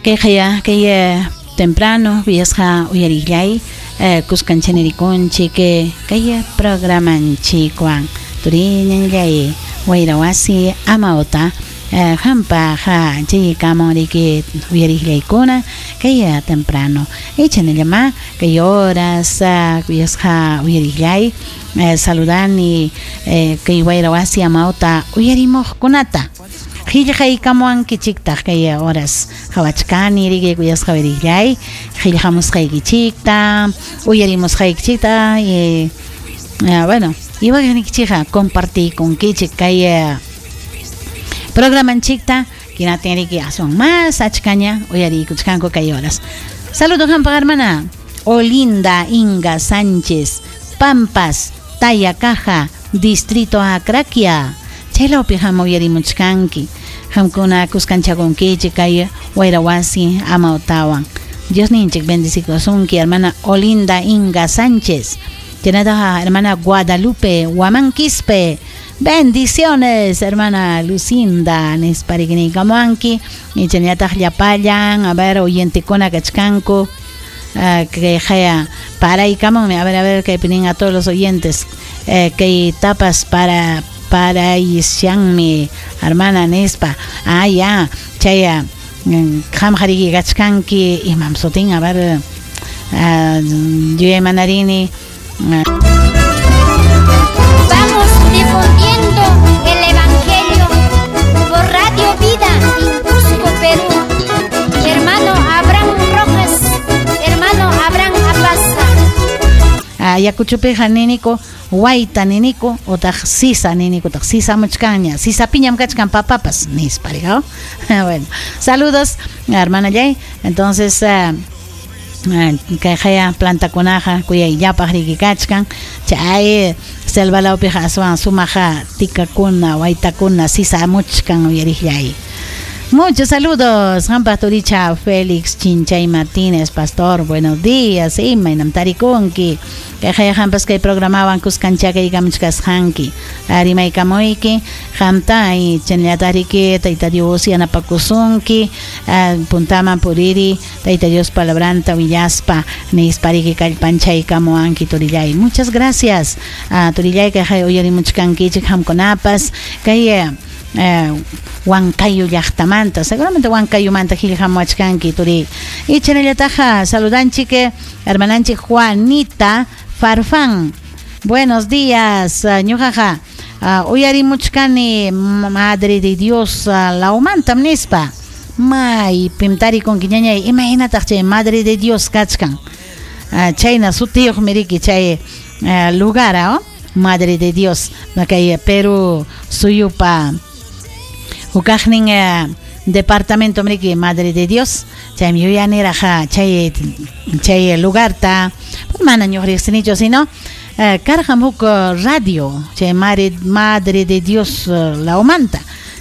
Kayqaya kay temprano kuyasqa uyarillay kuskanchaynirikunchik kay programanchikwan turiñallay wayra wasi amawta hampaq chaykamun riki uyariqllaykuna kay temprano ichanallama kay horas kuyasqa uyarillay saludani kay wayra wasi amawta uyarimuqkunata qillqaykamuwankichiktaq kay horas qhawachkani riki kuyasqa uyarillay qillqamusqaykichikta uyarimusqaykichikta bueno iwaqnikichikqa compartiykunkichik kay programanchikta kinatin riki aswan más achkaña uyariykuchkanku kay horas. Saludo hampaq hermana Olinda Inga Sánchez Pampas Tayacaja Distrito Acraquia chaylawpi ham uyarimuchkanki hamkuna kuskanchakunkichik kay wayra wasi amawtawan Dios ninchik bendecikusunki hermana Olinda Inga Sánchez. Chaynataqa hermana Guadalupe Huamanquispe. Bendiciones hermana Lucinda nispa rikiniykamuwanki y chaynallataq llapallan a ver oyentekuna kachkanku kay haya paraykamunmi a ver kaypi nin a todos los oyentes kay tapas para parayshanmi hermana nispa ah ya chay qamqa riki kachkanki imam sutin a ver yuyaymanarini. Vamos difundiendo el Evangelio por Radio Vida en Cusco, Perú. Hermano Abraham Rojas, hermano Abraham Apaza. Ayacuchopiqa niniku wayta niniku utaq sisa niniku utaq sisa muchkanña sisa piñam kachkan papapas nispa riqaw. Bueno, saludos hermana Yay. Entonces kayqaya plantakunaqa kuyayllapaq riki kachkan chay selvalawpiqa aswan sumaqa tikakuna waytakuna sisa muchkan uyariqllay. Muchos saludos, hampaq turicha Félix Chinchay Martínez, pastor, buenos días, imaynam tarikunki kayqaya hampas kay programawan kuskanchakaykamuchkasqanki rimaykamuyki qamta y chaynallataq Tayta Dios yanapakusunki puntaman puriri Tayta Dios palabranta willaspa nispa riki kallpanchaykamuwanki turillay. Muchas gracias turillay kayqaya uyarimuchkankichik hamkunapas kay Huancayo llaqtamanta seguramente Huancayomanta qillqamuwachkanki turi. Y chaynallataqa saludanchik hermananchik Juanita Farfán. Buenos días ñuqaqa uyarimuchkani Madre de Dios lawmantam nispa maypim tarikunki ñañay imaynataq chay Madre de Dios kachkan chayna sutiyuqmi riki chay lugar Madre de Dios kay Perú suyupa hukaqnin departamento mriki Madre de Dios chaymi yuyaniraq chay chay lugarta mana ñuqa riqsinichu sino karqam huk radio chay Madre de Dios lawmanta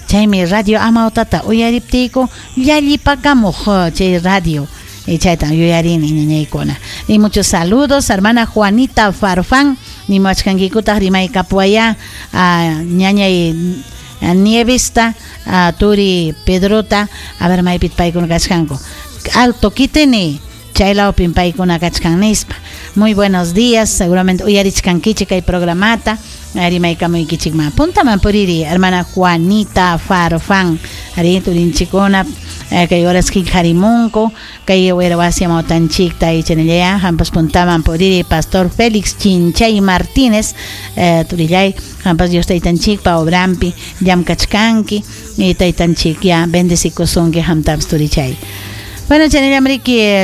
chaymi radio amawtata uyariptiyku llallipakamuq chay radio y chayta yuyarini ñañaykuna. Y muchos saludos hermana Juanita Farfán nimuwachkankikutaq rimaykapuwaya ñañay Nievista turi Pedrota a ver maypit paykuna kachkanku Alto Quiteni chaylawpim paykuna kachkan nispa. Muy buenos días, seguramente uyarichkankichik kay programata rimaykamuykichikman puntaman puriri hermana Juanita Farfán ari turinchikuna kay horas qillqarimunku kay wayra wasi amawtanchikta y chaynallaya hampas puntaman puriri pastor Félix Chinchay Martínez turillay hampas Dios taytanchikpa obrampi llamkachkanki y taytanchik ya bendecikusunki hamtapas turichay. Bueno, chaynallam riki.